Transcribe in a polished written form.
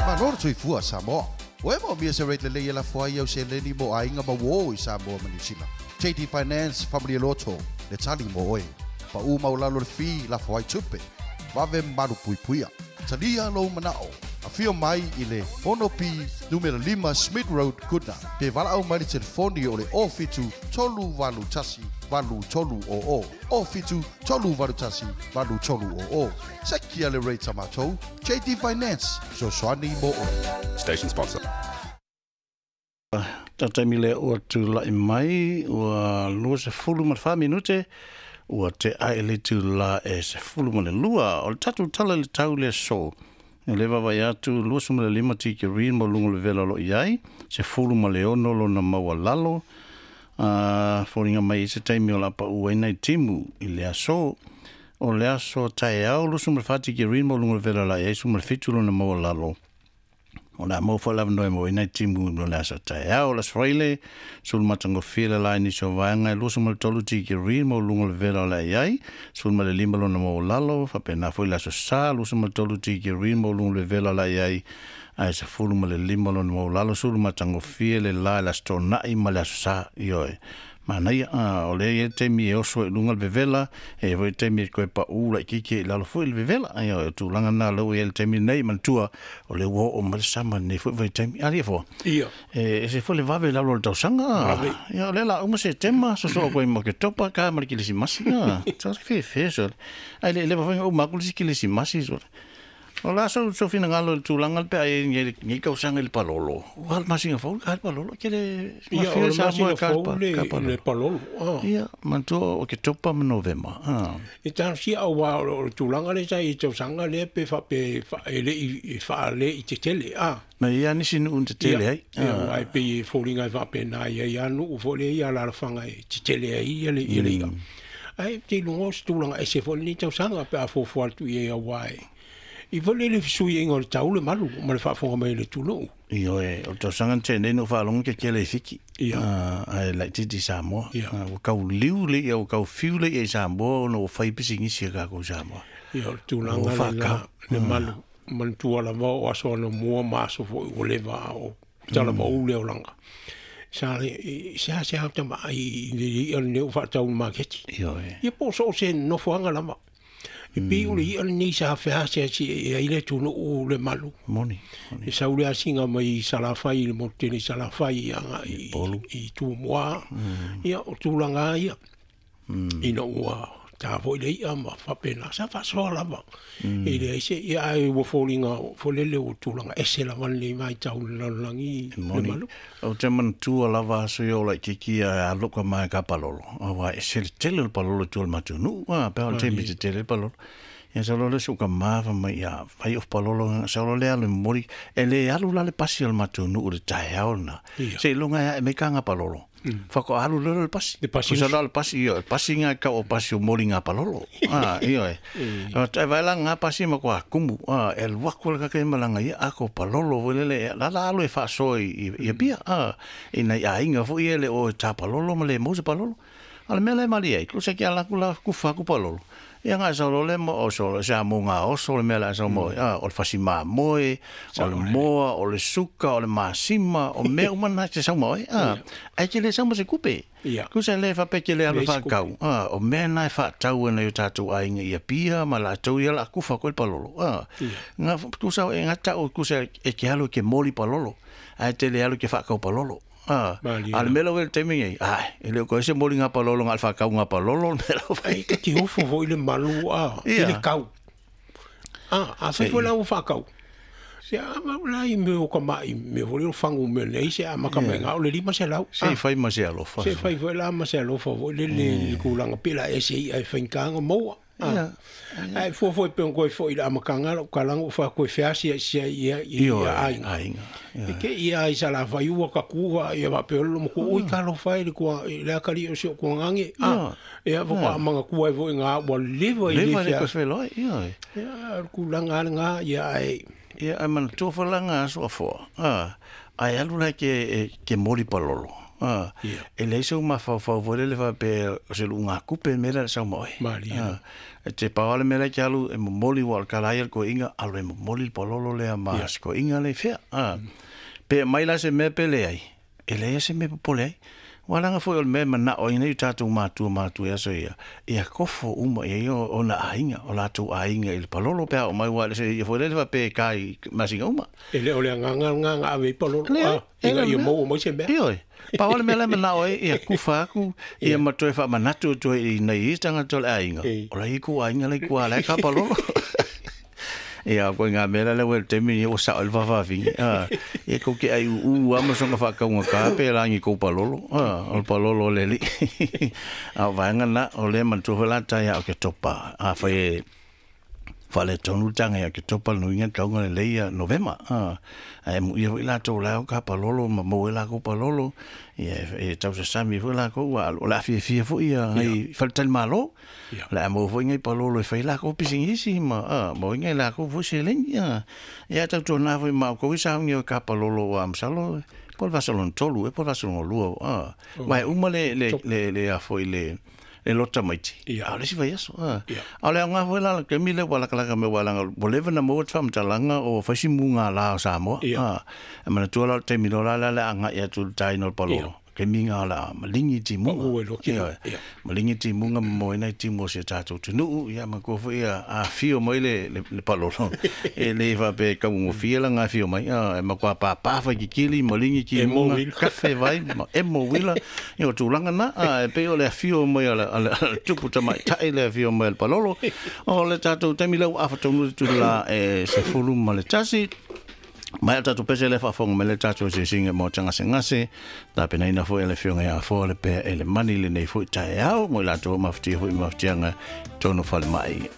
Malo le soifua Samoa. Ua e moomia se rate lelei e lafo ai au seleni mo aiga ma uō i Samoa ma Niu Sila? JD Finance Faamalie Loto le tali mo oe. Paʻū maualalo le fee lafo ai tupe. Vave ma malupuipuia. Talia lou manao. Afio mai i le 6B numera 5 Smith Road, Goodna, pe valaau mai i le telefoni o le 07 381 8300, 07 381 8300. Sekia le rate a matou, JD Finance, fesoasoani mo oe. Station sponsor. Taimi lea ua tulai mai, ua 24 minute, ua tea i le itula e 12. O le tatou tala i le tau le aso, e le vaavaai atu 25 tikeri ma luga o le vela o lo o i ai, 16 lona maualalo. A foliga mai i se taimi o le a paʻu ai nai timu i le aso. O le aso taeao, 24 tikeri ma luga o le vela o le a i ai, 17 lona maualalo. O le a maua foi le avanoa e maua ai nai timu mo le aso taeao. O le Aso Faraile, sulu matagofie le la i nisi o vaega e 23 tikeri ma luga o le vela o le a i ai, 15 lona maualalo. Faapena foi le Aso Sa, 23 tikeri ma luga o le vela o le a i ai, ae 15 lona maualalo. Sulu matagofie le la i le Aso Toonai ma le Aso Sa. Ioe. Manaia, o lea e i ai le taimi e oso ai i luga le vevela, e i ai foi le taimi e toe paʻū laitiiti ai i lalo foi le vevela. Ia, o le tulaga lena o lea ua i ai i le taimi lenei, manatua, o lea ua oo mai le sama i lenei foi vaitaimi. A alii e foa? Ia. E ese foi le vave i lalo o le tausaga. Vave. Ia, o lea o le a uma Setema, sosoo atu ai ma Oketopa, ka ma le Kilisimasi. A, sa fefe sole. Ae le i leva foi ona uma atu le isi Kilisimasi sole. O le a sou finagalo i le tulaga pe a i ai nei tausaga i le palolo? Ua le masina fou le ka le palolo ke le Ia, o le masina fou le palolo. Ia, manatua o Oketopa ma Novema. E talosia aua o le tulaga lea sa i ai i tausaga lea pe faapea e le i faale i tetele. Ma e i ai lava nisi nuu na tetele ai. Ia, aua e pei e foliga e faapena e i ai lava nuu foi lea i alaalafaga e tetele ai le i'a. Ae ou te iloa o se tulaga ese foi lenei tausaga pe a fuafua atu i ai aua e i foi lele fesuiaiga o le tau le malu ma le faafofoga mai a le atunuu. Ioe, o le tausaga na tea nei na ou faalogo tetele i Fiti, ae laitiiti i Samoa. Ua tau liu le i'a, ua tau fiu le i'a i Samoa ona ua fai pisinisi a tatou i Samoa. Ia, o le tulaga lena le malu. Manatua lava o aso anamua ma aso foi ua leva a o talavou le olaga. Sa seasea ota vaai i le i'a lenei ua faatau i le maketi. Ia po o so o se nofoaga lava. E pei o le i'a lenei sa feaseasi ai le atunuu le malu. Moni. E sau le asiga mai i Salafai i le motu tele i Salafai agai i Tumua. Ia o tulaga lava ia. Ina ua ta foi le i'a ma faapena, sa faasoa lava. E leai se, ia ae ua foliga foi lele ua tulaga ese lava lenei vaitau i le lalolagi le malu. Ou te manatua lava aso ia o laitiiti ae alu ka mae ka palolo, aua e ese le tele o le palolo i tua o le matou nuu, a, pe a o le taimi tetele le palolo. Ia sau loa lea o si ou tama fai mai, ia, fai off palolo, sau loa lea alu e momoli, e le alu la le pasi o le matou nuu i le taeao lena, seiloga e ae mai ka palolo. Faatoa alu loa le pasi. Le pasi. Pusa le pasi, ioe, pasi ngā kau o pasi o moli ngā palolo. Ah, ioe. E vai la ngā pasi ma kua kumu. Ah, e alu aku le kake malanga ia ako palolo foi lele. La la alu e faasoa i i Apia. Ah, i nai aiga foi ia le o e tā palolo ma le mau se palolo. A o le mea la e malie ai, kusa ke ala aku la kufa aku palolo. Ia nga sau lo le mo o so se a mo nga oso le mea la sau mo a o le fasi mamoe, o le moa, o le suka, o le masima, o mea uma na te sau mo a ai ke le sau mo se kupe. Kusa le fa pe ke le alu fa kau. A o mea na e fa tau na yo tātou aiga i Apia ma latou ia la kufa koe le palolo. A nga kusa e nga tau kusa e ke alu ke moli palolo. Ai te le alu ke fa kau palolo. A, a le mea lau e le taimi nei, ai, e le o koe se moli ngā palolo, ngā le whakau ngā palolo, le mea lau whai. Ai, te ofo foi le malu, a, i le kau. A, a whai foi lau whakau. Se a ma la i me o ka mai, me foi o fangu me nei, se a maka mai ngā o le 500. Se i whai ma se alofa. Se whai foi la ma se alofa foi le le kulanga pela e se i ai whaikanga maua. Ia. Ae fua foi pe koe foi i le amataga lou kalaga ua fai koe feasiasi ai ia i Ioe, aiga. aiga. E ke ia ai Salafai ua ka ku a ia faapea olo ma ku ui talofa e le kua i le akali o si o kuagange a ia fo ka manga ku ai foi nga ua leva i le Leva le feasi. koe wheloi, ioe. Ia, o le kulaga ale nga ia ae. Ia, ae manatua foi la nga aso afoa, a, ae alu la ke, ke moli palolo. E leai sou mafaufau foi lele faapea o se luugakupe le mea lea o le sau ma oe. E te pau lava le mea la e te alu e momoli ua o le tala ia le toeaina alu e momoli le palolo lea ma si toeaina lea i fea. Pe aumai la se mea pe leai, e leai lava se mea e popole ai. Aua leaga foi o le mea e manao ai nei o tatou matua matua i aso ia, ia tofo uma i ai ona aiga, o latou aiga i le palolo pe a oo mai, aua e le se ia foi lele faapea e ta i masina uma. E le o le agaga lena na ave ai palolo, ina ia maua mai se mea. Ioe. Pau lava le mea la e manao ai, ia kufa atu, ia ma toe faamanatu atu ai i nai isi tagata o le aiga, o la e i ai kou aiga la i tua la e ka palolo. Ia, ko ngā mea la ua le taimi lenei ua sao ai le faafafine. Ia kou te ai u'u lava ma soona faataugata pe la ni kou palolo. O le palolo o le alii. A o vaega na, o lea manatua foi la tai a o ke topa. Afai e faaletonu le taga ia Oketopa le nuiga tauga lelei ia Novema. Ae muia foi latou la e o ka palolo ma maua ai lakou palolo, ia e tausasami foi lakou, ua o le a fiafia foi ia ngai faletalimalo. O le a maua foi ngai palolo e fai lakou pisinisi ma maua ai ngai lakou foi seleni. Ia tautuana foi ma outou i sauni o ka palolo ua masalo po o le vasa lona tolu ea po o le vasa lona lua. Aua e uma le le le le a foi le le lota maiti. A o le isi vaiaso. A o le aoga foi la o le taimi lea ua latalata mai aua leaga ua leva ona maua le faamatalaga o fai si mugala o Samoa. E manatua la o le taimi loa la lea o le a agai atu i le taina o le palolo. Taimi na o le a maligi timuga. Maligi timuga ma moe ai nai timu o si o tatou atunuu. Ia manatua foi a afio mai le le palolo, e le faapea e taugofie lana afio mai, e matua pāpā faikikili, maligi timuga, kafe vai ma emo uila. Ia o tulaga na, e pei o le afio mai a le tupu tamaitai le afio mai a le palolo. O le tatou taimi lea ua afa tonu le itula e 11. Mai o tatou pese lea faafofoga mai le tatou asiasiga mo Tagasegase, tapenaina foi e le Afioga ia Afoa le pea e le mani lenei foi taeao mo i latou o mafatia foi mafatiaga tonu falemai.